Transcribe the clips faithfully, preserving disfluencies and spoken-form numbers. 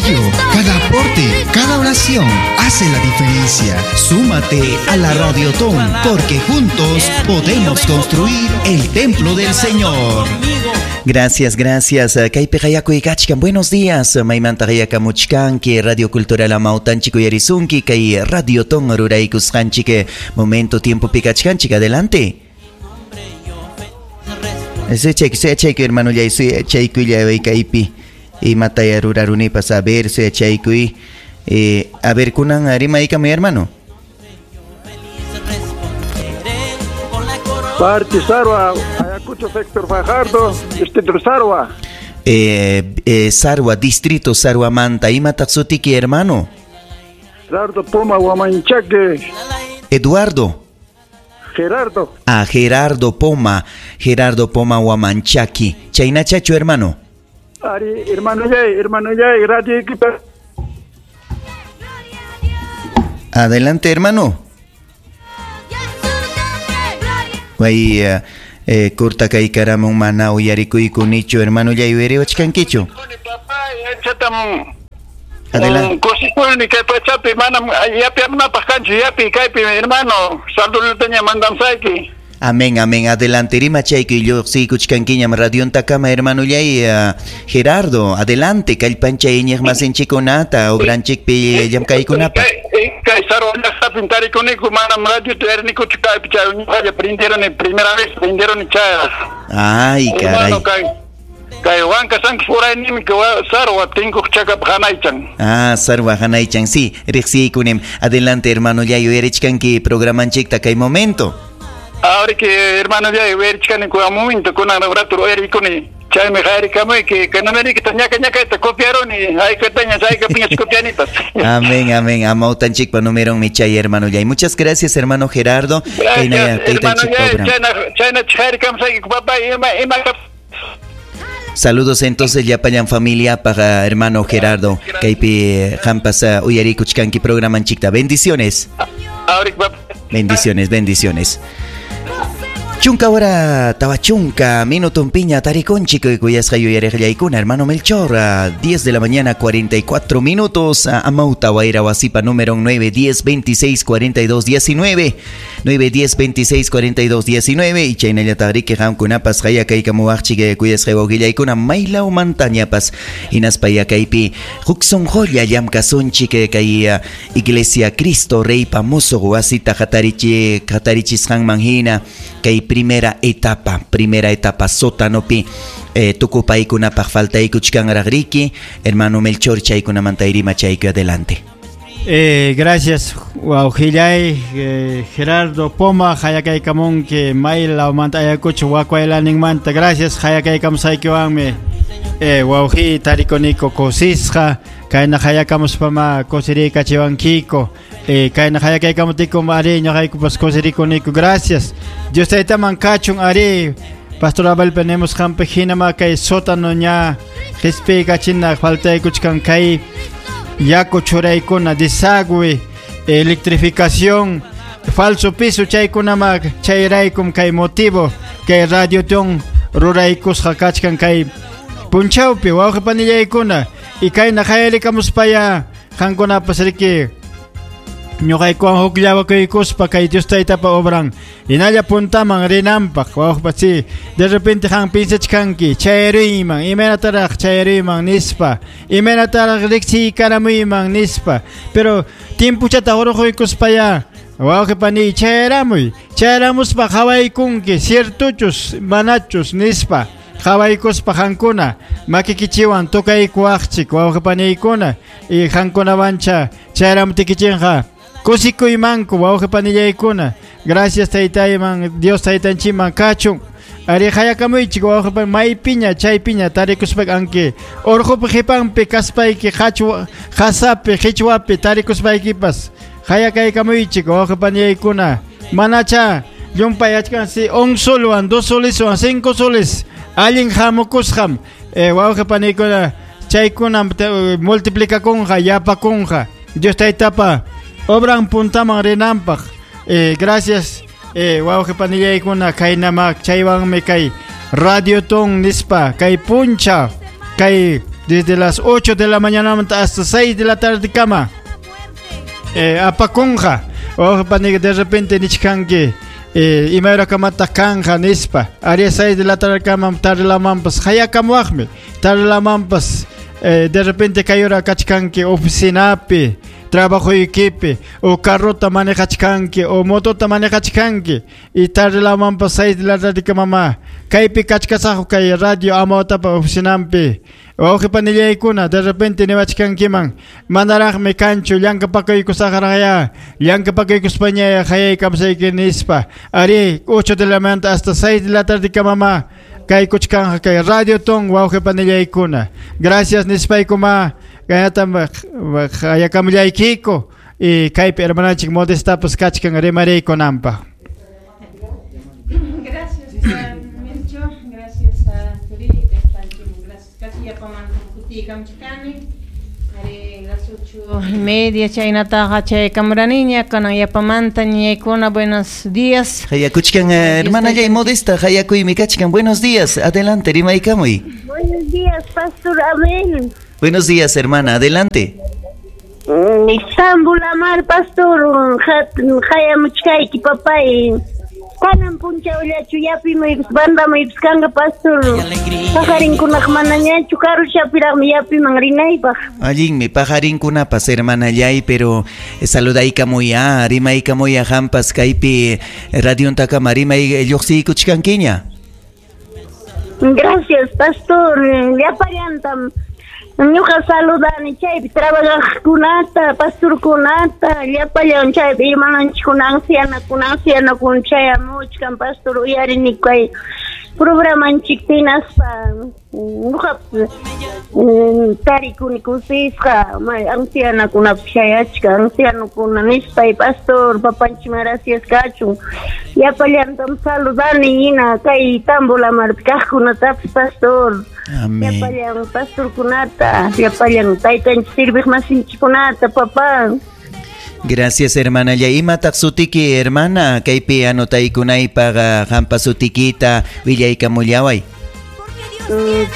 apoyo, cada aporte, cada oración hace la diferencia. Súmate a la Radiotón, porque juntos podemos construir el templo del Señor. Gracias, gracias. Kaypi qayakuychkan. Buenos días. Maymanta qayakamuchkanki Radio Cultural Amawtanchik uyarisunki kay Radiotón ruraykusqanchik momento tiempo pikachkanchik. Adelante. Suyachayku, suyachayku, hermano, ya suyachaykuy kaypi imataya rurarunipas. A ver, suyachaykuy. Eh, a ver, kunan rimaykamuy, hermano. Parte Sarwa, Ayacucho, sector Fajardo, distrito Sarwa. Eh, eh, Sarwa, distrito Sarwa Manta. Imataq sutiki, hermano? Gerardo Poma Huamanchaque. Eduardo. Gerardo. Ah, Gerardo Poma. Gerardo Poma Huamanchaqui. Chaynachachu, hermano. Ari, hermano Yay, hermano Yay, radio equipa. Adelante, hermano. Way eh, eh, kurta kay karamon mana uyarikuyku nichu, hermano, ya uyariwachkankichu. Adelante. Kusikuni kay pachapi manam yapi amnapaq kanchu yapi kaypi, hermano, saludutaña mandamsayki. Amén, amén. Adelante, rimachaykuy lluqsiykuchkankiñam radiontakama, hermano yay, uh, Gerardo, adelante, kallpanchay iñiqmasinchikkunata obranchikpi llamkaykunapaq. Kay Sarwa llaqtapim tarikuniku, manam radio tarinikuchu kaypi, chay ñuqalla prenderoni, primera vez prenderoni chay. Ay, caray. Hermano, kay kay Huanca Santos uraynimi Sarwa tinkuq chakap hanaychan. Ah, Sarwa hanaychan, sí, riqsiykunim. Adelante, hermano, ya yuyarichkanki programanchikta kay momento. Ahora que hermano ya uyarichkani ku momento kunan rato uyarikuni. Chaymi qayarikamuyki, que no me digas ñaca ñaca te copiaron y hay que teñas, hay que piñas copianitas. Amén, amén. Amawtanchikpa numeron mi chay, hermano yay. Muchas gracias, hermano Gerardo. Gracias, hermano yay. Chayna, chayna chayarikamsayki, papá, ima, ima. Saludos entonces llapallan familia para hermano Gerardo. Kaypi qampas uyarikuchkanki programanchikta. Bendiciones. Bendiciones, bendiciones. Chunka hora tawachunka, minuto piña, tariconchico y kuyasqa yuyariqllaykuna, hermano Melchor, a diez de la mañana, cuarenta y cuatro minutos, a Amauta Wayra Wasipa, número nueve, diez, veintiséis, cuarenta y dos, diecinueve, nueve, diez, veintiséis, cuarenta y dos, diecinueve, y chaynallataqriki qamkunapas qayakaykamuwaqchik kuyasqa wawqillaykuna maylaw mantañapas, hinaspa yakaypi huk sunqulla llamkasunchik kay Iglesia Cristo Reypa musuq wasita hatarichi hatarichisqanman hina kay primera etapa, primera etapa sótanopi eh, tukupaykunapaq faltaykuchkanraqriki, hermano Melchor, chaykunamanta rimachayku, adelante. Eh, gracias, wawqillay, eh, Gerardo Poma, hayakaykamunki, maylawmanta Ayacucho, wakwaylaninmanta, gracias, hayakaykamusaykiwanmi, eh, wawqi tarikuniko kusisqa, kayna hayakamuspama kusiriykachiwankiko, eh, kayna hayakaykamutikum ari ñuqaykupas kusirikuniko, gracias. Dios taytaman kachun ari, Pastor Abel penemusqanpi hinama kay sótano ña qispiykachina faltaykuchkan kay yaku churaykuna, desagüe, electrificación, falso piso chaykunama chayraykum kay motivo kay Radiotón ruraykusqa kachkan kay punchawpi wawqi panillaykuna y kayna qayarikamuspaya qankunapas riki ñuqaykuwan hukllawakuykuspa kay Dios taytapa obran hinalla puntaman rinanpaq wawqi si de repente qan pinsachkanki chayruyman imaynataraq chayruyman nispa imaynataraq riqsiykaramuyman nispa pero timpuchata urquykuspaya wawqi pani chayramuy chayramuspa qhawaykunki ciertuchus manachus nispa qhawaykuspa qankuna makikichiwan tukaykuwaqchik wawqi paniykuna y qankunawancha chayramutiykichinqa kusikuymanku wawqi panillaykuna gracias taytayman Dios taytanchikman kachun ari hayakamuychik wawqi pani maypiña chaypiña tarikuspa anki urqupi qipanpi kaspayki qachwa qasapi qichwapi tarikuspaykipas hayakaykamuychik wawqi panillaykuna manacha llumpay achkansi un solwan dos soliswan cinco soles allin hamukusqam eh, wawqi paniykuna chaykuna multiplicakunqa yapakunqa Dios taytapa obran puntaman rinanpaq eh, gracias eh, wawqi panillaykuna kaynamak chaywanmi kay Radiotón nispa kay puncha kay Desde las ocho de la mañana hasta seis de la tarde kama. Eh, apakunqa. Wawqi pani de repente nichkanki eh, imayra kamataq kanja nispa. Ari seis de la tarde kama tarlamanpas hayakamuwaqmi. Tarlamanpas eh, de repente kayura kachkanki oficinapi, trabajoykipi, o carrota manejachkanki, o motota manejachkanki, y tarlamanpas seis de la tarde kamama. Kaypi kachkasaqu kay radio Amawtapa oficinampi. Wawqi panillaykuna de repente niwachkankiman manaraqmi kanchu llankapakuykusaqraqya llankapakuykuspañaya hayaykamsayki nispa. Ari ocho de la mañana hasta seis de la tarde kamama kaykuchkanja kay Radio Ton wawqi panillaykuna. Gracias nispaykuma kaynatam hayakamullaykiku y kaypi hermananchik Modestapas kachkan rimariykunanpaq. Gracias, Melchor. Gracias a Turi. Ari las ocho y media chaynataqa chaykamuraniña kanan yapamanta ñaykuna. Buenos días. Hayakuchkan hermanallay Modesta, hayakuymi kachkan. Buenos días, adelante rimaykamuy. Buenos días, Pastor Abel. Buenos días, hermana, adelante. Tambo Lamar, Pastor, hayamuchkayki papay. Kanan punchawllachu yapimuypas bandamuypas kanqa, Pastor. Pajarinkunaq manañachu karuchapiraqmi yapiman rinaypaq. Allinmi pajarinkunapas, hermanallay, pero saludaykamuya, rimaykamuya hampas kaypi radiontakama rimay lluqsiykuchkankiña. Gracias, Pastor. Llapallantam ñuqa saludani chaypi trabajaqkunata, pastorkunata, llapallan chaypi hermananchikkuna, ancianakuna, ancianakuna chayamuchkan, Pastor, uyarini kay programanchikta hinaspa ñuqa tarikuni kusisqa ancianakunapas chayachkan, ancianokuna nispay, Pastor, papanchikman gracias kachun. Llapallantam saludani hina kay Tambo Lamarpi kaqkunatapas, Pastor. Amén. Llapallan pastorkunata, llapallan taytanchik sirviq masinchikkunata, papá. Gracias, hermana. Ya imataq sutiki, hermana, kaypi anotaykunaypaq hampa sutikita willaykamullaway.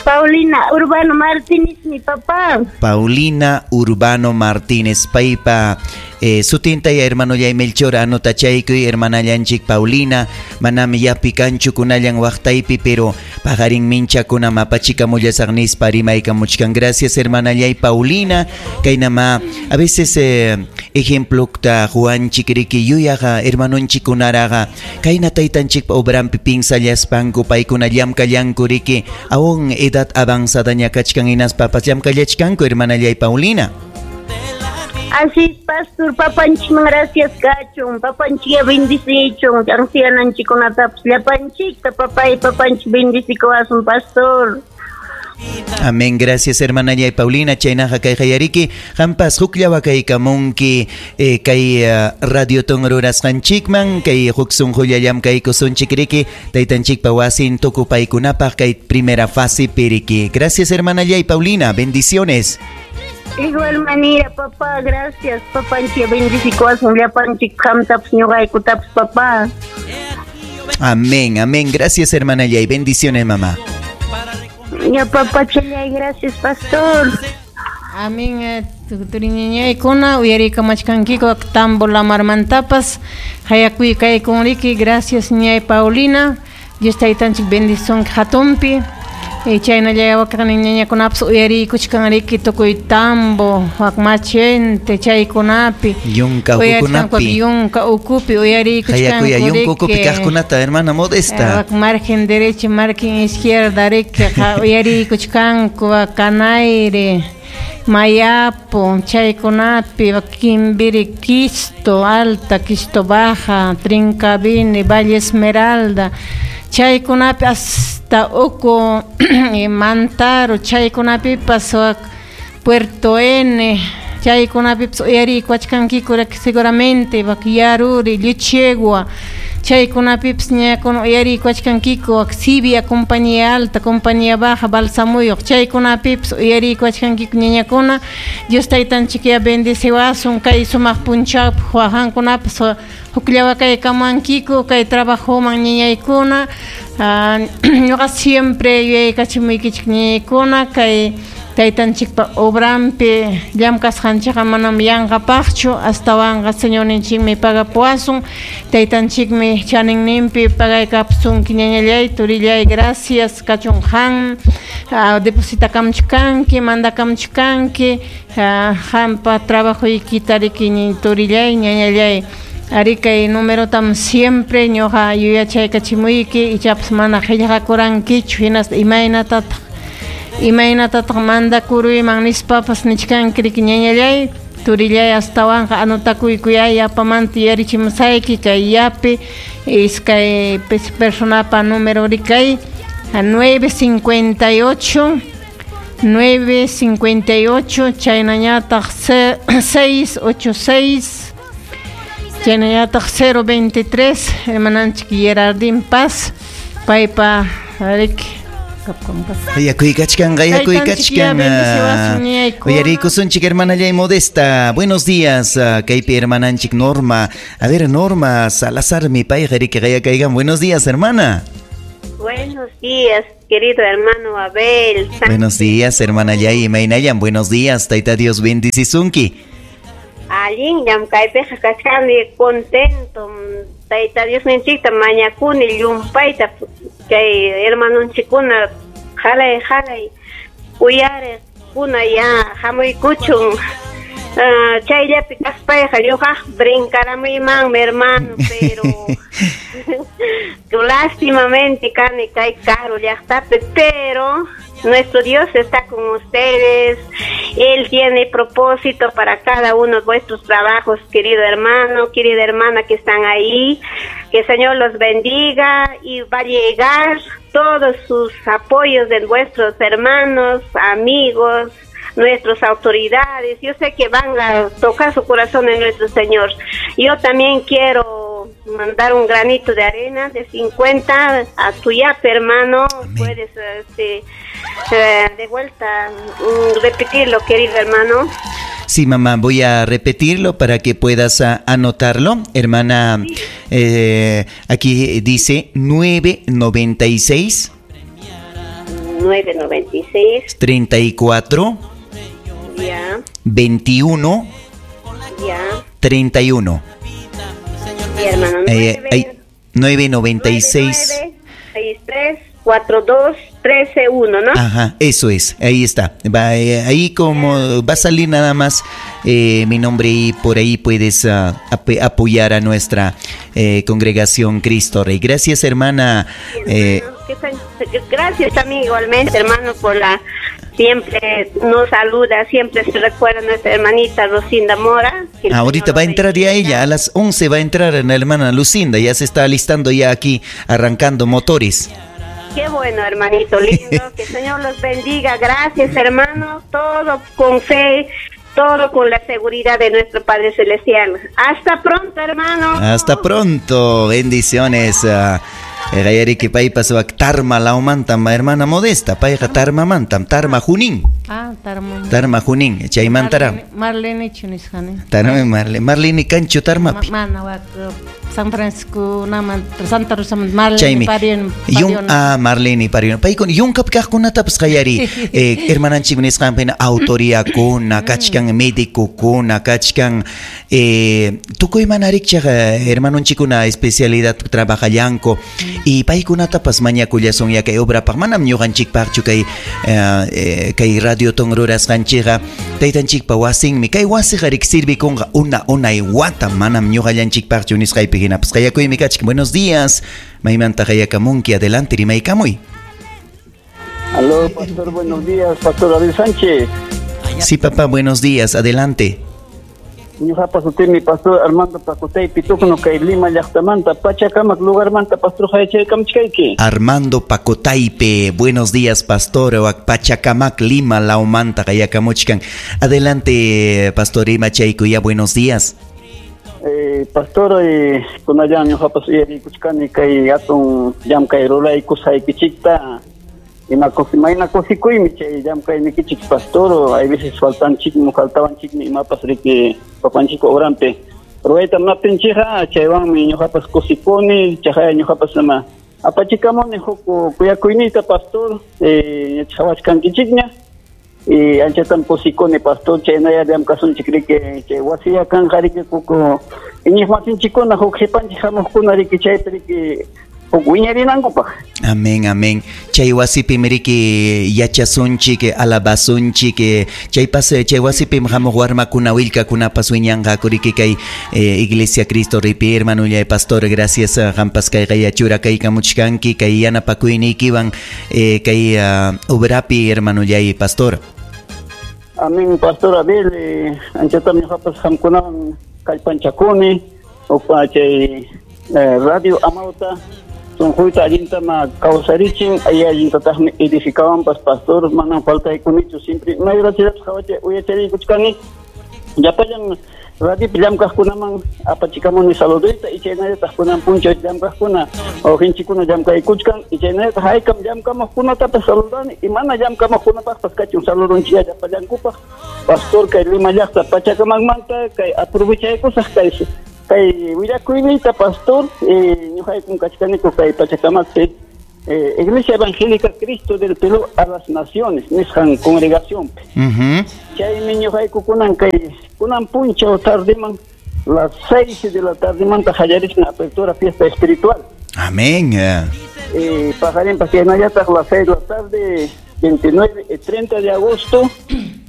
Paulina Urbano Martínez, mi papá. Paulina Urbano Martínez, paypa eh, sutintaya hermano yay Melchor anotachaykuy hermanallanchik Paulina, manami yapi kanchu kunallan waqtaypi, pero paqarin minchakuna mapachikamullasaq nispa rimaykamuchkan. Gracias, hermanallay Paulina. Kaynama a veces eh, ejemplokta Juanchik riki yuyaqa hermanonchikunaraqa kayna taytanchikpa obrampi pinsallaspanku paykuna llamkallanku riki aún edad avanzada kachkan hinaspapas llamkallachkanku, hermanallay Paulina. Así es, Pastor, papanchikman gracias kachun, papanchik bendicichun, anciananchikunatapas llapanchikta, papay, papanchik bendicikuwasun, Pastor. Amén, gracias hermana Yay Paulina. Chaynaqa kay hayariki hampas hukllawa kaykamunki eh, kay uh, radioton rurasqanchikman kay huk sunqulla llamkaykusunchik riki taytanchikpa wasin tukupaykunapaq kay primera fase piriki. Gracias hermana Yay Paulina, bendiciones. Igual manera, papá, gracias. Papanchik bendicikuwasun llapanchik qamtapas ñuqaykutapas, papá. Amén, amén. Gracias hermana Yay, bendiciones mamá. Ya, papá, chalay, gracias, pastor. Amén. Turiñañaykuna uyarikamachkankiku Tambo Lamarmantapas hayakuy kaykunriki. Gracias ñay Paulina. Dios taytanchik bendición hatunpi. Chaynalla wakaqnin ñañakunapas uyariykuchkanriki tukuy tambo wak machente chaykunapi yunka ukukunapi yunka ukupi uyariykuchkanku hayakuya yunka ukupi kaqkunata hermana Modesta wak margen derecha margen izquierda riki uyariykuchkanku wak Canayre Mayapo chaykunapi wak Quimbiri Quisto Alta Quisto Baja Trincavini Valle Esmeralda chaykunapi hasta uku Mantaro chaykunapipas wak Puerto N chaykunapipas uyariykuachkankiku seguramente wak Yaruri Lluchegua chaykunapipas ñakuna uyariykuachkankiku wak Sibia compañía alta compañía baja Balsamuyuq chaykunapipas uyariykuachkankiku ñañakuna. Dios taytanchik ya bendeciwasun kay sumaq punchawpi wajankunapas hukllawa kaykamankiku kay trabajoman ñañaykuna. Ñuqa siempre yuyaykachimuykichik ñañaykuna kay Taytanchikpa obrampi llamkasqanchikqa manam yanqapaqchu, astawanqa Señorninchikmi pagapuwasun, taytanchikmi chaninninpi pagaykapusunki ñañallay, turillay, gracias kachun qam, depositakamchu kanki, mandakamchu kanki, qampa trabajoykita riki turillay, ñañallay. Ari kay numerotam siempre ñuqa yuyachaykachimuyki, ichapas mana qillqakurankichu, hinaspa imaynatataq imaynatataq mandakuruyman nispapas nichkanki riki ñañallay, turillay, astawanqa anotakuykuyay yapamanta yuyarichimusayki kay yapi iskay personapa número rikay nueve cincuenta y ocho nueve cincuenta y ocho chaynañataq seis ocho seis chaynañataq cero veintitrés hermananchik Gerardín Paz paypa riki. Qayakuykachkan, qayakuykachkan. Uyariykusunchik hermanallay Modesta. Buenos días, kaypi hermananchik Norma. A ver, Norma Salazar, mi payqa riki qayakaykan. Buenos días, hermana. Buenos días, querido hermano Abel. Buenos días, hermana Yay Imaynallan. Buenos días, Tayta Dios bendicisunki. Allin llamkaypiqa kachkani contento. Tayta Diosninchikta mañakuni llumpayta kay hermanonchikuna jalay jalay uyariqkuna ya hamuykuchun. Uh, chayllapi kaspayqa ñuqaq brincaramuymanmi hermano, pero lástimamente kani kay karu llaqtapi, pero nuestro Dios está con ustedes. Él tiene propósito para cada uno de vuestros trabajos, querido hermano, querida hermana que están ahí. Que el Señor los bendiga y va a llegar todos sus apoyos de vuestros hermanos, amigos, nuestras autoridades. Yo sé que van a tocar su corazón en nuestro Señor. Yo también quiero mandar un granito de arena de cincuenta a tu yape, hermano. Amén. Puedes este, eh, de vuelta repetirlo, querido hermano. Sí, mamá, voy a repetirlo para que puedas anotarlo. Hermana, sí. eh, aquí dice nueve noventa y seis. nueve noventa y seis. treinta y cuatro. Ya. veintiuno. Ya. treinta y uno. Sí, hermano. Eh, nueve noventa y seis. seis tres cuatro dos trece uno, ¿no? Ajá, eso es, ahí está. Va, eh, ahí como va a salir nada más eh, mi nombre y por ahí puedes uh, ap apoyar a nuestra eh, congregación Cristo Rey. Gracias, hermana. Sí, hermano, eh, gracias también igualmente, hermano, por la... Siempre nos saluda, siempre se recuerda a nuestra hermanita Lucinda Mora. Ahorita va a entrar ya ella, a las once va a entrar la hermana Lucinda, ya se está alistando ya aquí, arrancando motores. Qué bueno, hermanito lindo, que el Señor los bendiga. Gracias, hermano, todo con fe, todo con la seguridad de nuestro Padre Celestial. Hasta pronto, hermano. Hasta pronto, bendiciones. Uh, Gayariki paypas wak Tarma lawmantam, hermana Modesta, payqa Tarma mantam, Tarma Junín. Ah, Tarma. Tarma Junín, chaymantara. Marlene chunisqani. Tarma Marlene, Marlene kanchu Tarmapi. Mana wak San Francisco naman Santa Rosa Marlene Parion. Yung ah Marlene Parion. Paykuna yunkap kaqkunatapas qayari. Eh hermananchik nisqanpina autoriakuna, kachkan médicokuna, kachkan eh tukuy mana rikchaq hermanonchikuna especialidad trabajallanku. Y paykunatapas mañakullasun ya kay obrapaq manam ñuqanchikpaqchu kay eh, kay radio ton rurasqanchikqa taytanchikpa wasinmi kay wasiqa rik sirvikunqa una unay wata manam ñuqallanchikpaqchu nisqaypi hinapas qayakuymi kachkan. Buenos días, maymanta qayakamunki, adelante rimaykamuy. Aló, pastor, buenos días, pastor David Sánchez. Sí, papá, buenos días, adelante. Ñuqapa sutimi pastor Armando Pacotay Pitucno kay Lima llaqtamanta Pachacamac lugarmanta pastor hayachaykamchkayki. Armando Pacotaype, buenos días, pastor. Pachacamac Lima laumanta qayakamuchkan. Adelante, pastor Imachaykuya, buenos días. Eh, pastor, eh, kunallan ñuqapas uyariykuchkani kay hatun llamkay ruraykusqaykichikta. Ima mayna kusikuymi chay llamkaynikichik pastor, hay veces faltanchikmi, faltawanchikmi imapas riki papanchik obrampi. Rurayta munaptinchikqa chaywanmi ñuqapas kusikuni, chaqaya ñuqapas ima apachikamuni huk kuyakuyniyta pastor, eh, ñachawachkankichikña. Y anchatam kusikuni pastor chaynaya llamkasunchik riki chay wasiya kanqa riki kuku iñiqmasinchikkuna huk qipanchik hamuqkuna riki chaypi riki huk wiñarinankupaq. Amén, amén. Chay wasipim riki yachasunchik, alabasunchik, chaypas chay wasipim hamuq warmakuna willkakunapas wiñanqaku riki kay eh, Iglesia Cristo Ripi hermanullay pastor, gracias qampas kayqa yachurakaykaamuchkanki kay yanapakuyniykiwan eh, kay uh, obrapi hermanullay pastor. Amén, pastor Abel, eh, anchatam ñuqapas qamkunawan kallpanchakuni upa chay eh, radio Amauta sunquyta allintama kawsarichin ay allintataqmi edificawanpas pastor manam faltaykunichu siempre mayrachirapas qawacha uyachariykuchkani llapallan radiopi llamkaqkunaman apachikamuni saluduyta y chaynallataq kunan punchaw llamkaqkuna wawqinchikkuna llamkaykuchkan y chaynallataq haykam llamkamuqkunatapas saludani y mana llamkamuqkunapaqpas kachun saludunchik llapallankupaq pastor kay Lima llaqta Pachacamacmanta kay aprovechaykusaq kay kay willakuyniyta pastor ñuqaykum kachkaniku kay Pachacamacpi eh, Iglesia Evangélica Cristo del Perú a las Naciones nisqan congregacionpi. Uh-huh. Chaymi ñuqayku kunan kay kunan punchaw tardiman las seis de la tardimanta qallarisqa apertura fiesta espiritual. Amén. Eh, paqarinpas chaynallataq las seis de la tarde veintinueve y treinta de agosto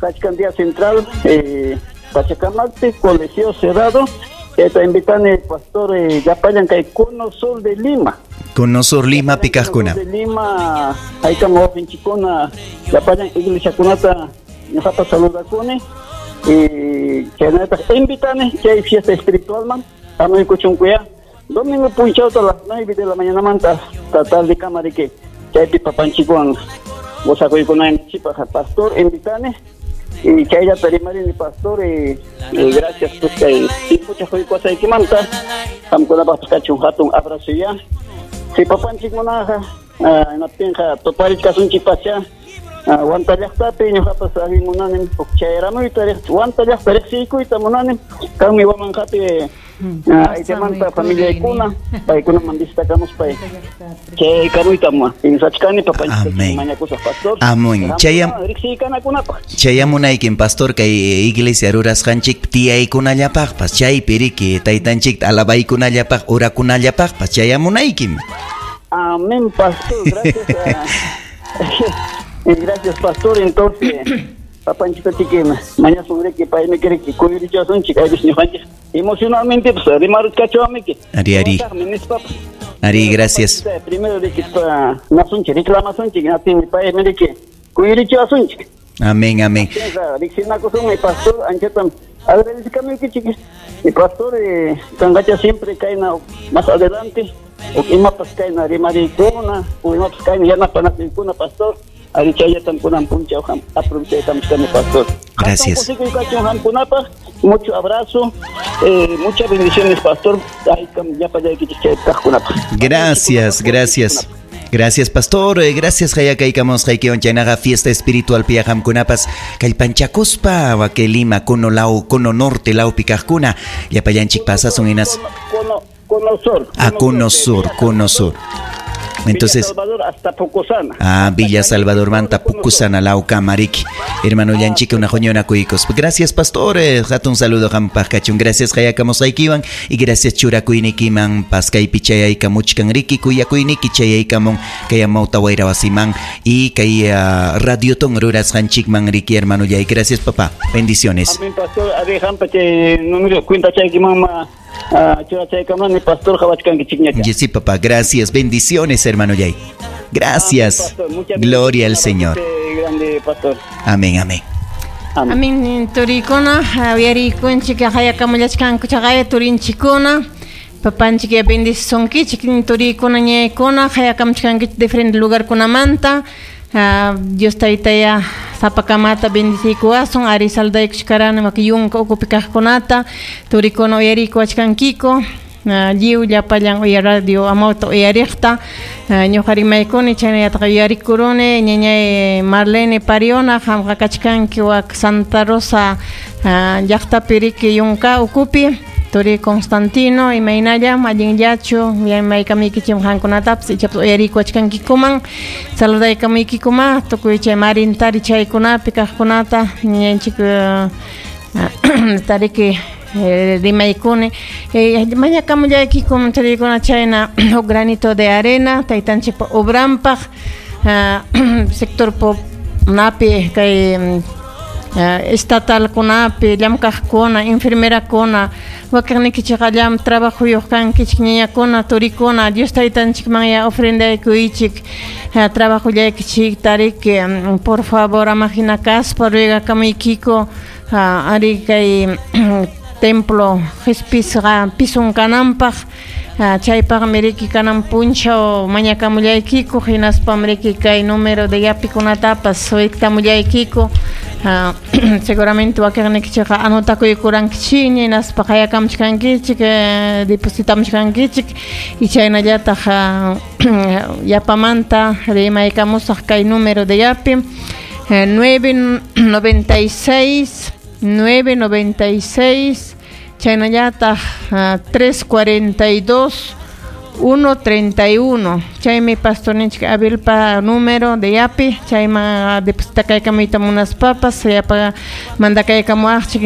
kachkan día central eh, Pachacamacpi colegio cerrado. Te invitan el pastor eh, llapallan kay Cono Sur de Lima. Cono Sur Lima pikaqkuna. De Lima, haykam wawqinchikkuna llapallan iglesiakunata ñuqata saludakuni y chaynallataq invitani chay fiesta espiritualman hamuykuchunkuya domingo punchawta las nueve de la mañanamanta hasta tarde kama riki chaypi papanchikwan gozakuykunanchikpaq pastor invitani. Y chayllata rimarini pastor y, y gracias pues kay tiempocha quykuwasaykimanta qamkunapaqpas kachun hatun abrazo ya si papanchik munaqa hinaptinqa tuparichkasunchikpacha Huanta llaqtapi ñuqapas allin munanim huk chayramuyta Huanta llaqta riqsiykuyta munanim kanmi wamanqapi aychamanta familiaykuna paykunaman visitakamuspay chaykamuyta pinsachkani papanchik mañakusaq pastor. Amén. Chayam riqsiykanakunapaq chayamunaykim pastor kay iglesia rurasqanchik tiyaykunallapaqpas chaypi riki taytanchikta alabaykunallapaq orakunallapaqpas chayamunaykim. Amén, pastor, gracias. Gracias, pastor. Entonces, papanchita chiquima, mañana sobre que pay me quiere que kuyurichasunchik, aypis ñuqanchik emocionalmente pues rimaruchkachuamiki. Ari, ari. Ari, gracias. Primero de que nasunchik, reclamasunchik, natin pay me que kuyurichasunchik. Amén, amén. Riqsinakusunmi pastor, anchatam agradezcamuykichik. Mi pastor, eh, kangacha siempre kayna más adelante, o imapas kayna rimarikuna, o imapas kayna yanapanakuna, pastor. Ari chayatam kunan punchaw aprovechaykamchkani pastor. Gracias. Mucho abrazo, eh, muchas bendiciones, pastor. Gracias, gracias. Gracias, pastor. Gracias, hayakaykamos haykiwan chaynaqa fiesta espiritual piaqamkunapas kallpanchakuspa wake Lima Cono Lau Cono Norte Lau pikaqkuna llapallanchik pasasun hinas Cono Cono Sur. Ah, Cono Sur, Cono Sur. Entonces, Villa Salvador hasta Pucusana. Ah, Villa Salvador manta Pucusana lauka mariki. Hermano Llanchica una joñona kuikos. Gracias, pastores. Hatun saludo hampaq kachun. Gracias hayakamusaykiwan y gracias churakuynikiman paskaypi chayaykamuchkan riki kuyakuyniki chayaykamun kay amawta wayra wasiman y kay uh, radioton rurasqanchikman riki hermano yay. Gracias, papá. Bendiciones. Amén, pastor. Ari hampa chay número cuenta chaykiman ma pastor. Sí, papá, gracias. Bendiciones, hermano Yay. Gracias. Gloria al Señor. Amén, amén. Amén. Turikuna, uyarikunchik, hayakamullachkanku chaqaya turinchikuna. Papanchik bendicisunkichik, turikuna, ñaykuna, hayakamuchkankichik diferente lugarkunamanta. Dios taytaya sapakamata bendicikuwasun, ari saldaykuchkarani maki yunka ukupi kaqkunata, turikuna uyarikuwachkankiko, lliw llapallan uya radio amawta uyariqta, ñuqa rimaykuni chaynallataq uyarikuruni, ñañay Marlene Pariona, qamqa kachkanki wak Santa Rosa llaqtapi riki yunka ukupi. Turi Constantino imaynallam allinllachu maykamiykichik qamkunatapas ichapas uyarikuwachkankikuman saludaykamuykikuma tukuy chay marintari chaykunapi kaqkunata ñañanchik tariki rimaykuni mañakamullaykikum churaykuna chayna huk granito de arena taytanchikpa obranpaq sector napi kay estatalkunapi llamkaqkuna enfermerakuna wakiqnikichikqa llam trabajuyuq kankichik ñañakuna turikuna Dios taytanchikmanya ofrendaykuychik trabajullaykichik tariki por favor ama hina kaspa ruegakamuykiku ari kay templo qispisqa pisun kananpaq chaypaqmi riki kanan punchaw mañakamullaykiku hinaspam riki kay número de yapikunatapas wiktamullaykiku seguramente wakiqnikichikqa anotakuykurankichikña hinaspa qayakamuchkankichik depositamuchkankichik y chaynallataq yapamanta rimaykamusaq kay número de yapi nueve noventa y seis nueve noventa y seis chaynallataq tres cuarenta y dos uno treinta y uno chaymi pastorninchik Abelpa número de yapi chayman depositakaykamuyta munaspapas yapa mandakaykamuwaqchik.